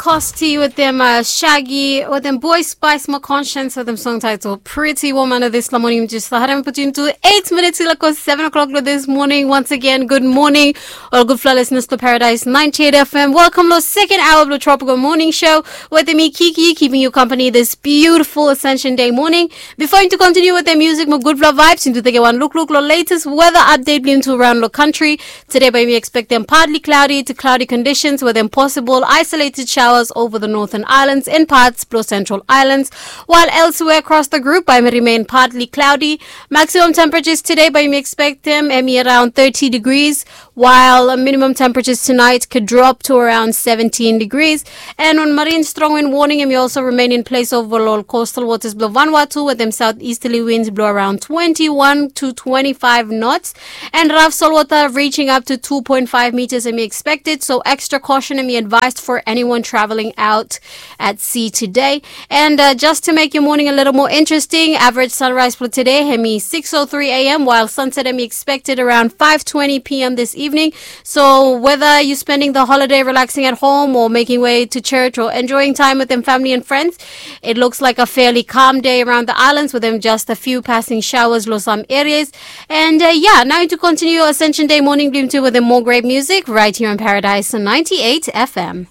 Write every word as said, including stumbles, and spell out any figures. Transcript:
Costi wetem uh, Shaggy wetem Boy Spice mo Conscience wetem song title Pretty Woman of this morning. Just had him put into eight minutes like seven o'clock this morning. Once again, good morning. All good floor listeners to Paradise ninety-eight F M. Welcome to the second hour of the Tropical Morning Show with me, Kiki, keeping you company this beautiful Ascension Day morning. Before you to continue with the music, mo good floor vibes, into the one look look lo latest weather update blong into around the country. Today, bae yumi expect dem partly cloudy to cloudy conditions with dem possible isolated showers over the northern islands and parts of central islands, while elsewhere across the group, bae yumi remain partly cloudy. Maximum temperatures today, bae yumi expect dem hemi around thirty degrees, while minimum temperatures tonight could drop to around seventeen degrees. And on marine strong wind warning, hemi also remain in place over all coastal waters below Vanuatu with them southeasterly winds blow around twenty-one to twenty-five knots. And rough salt water reaching up to two point five meters and be expected. So extra caution and be advised for anyone traveling out at sea today. And uh, just to make your morning a little more interesting, average sunrise for today, hemi six oh three a m, while sunset hemi expected around five twenty p m this evening. So whether you're spending the holiday relaxing at home or making way to church or enjoying time with them family and friends, it looks like a fairly calm day around the islands with them just a few passing showers lo some areas. And uh, yeah, now to continue Ascension Day morning blong into with the more great music right here on Paradise ninety-eight F M.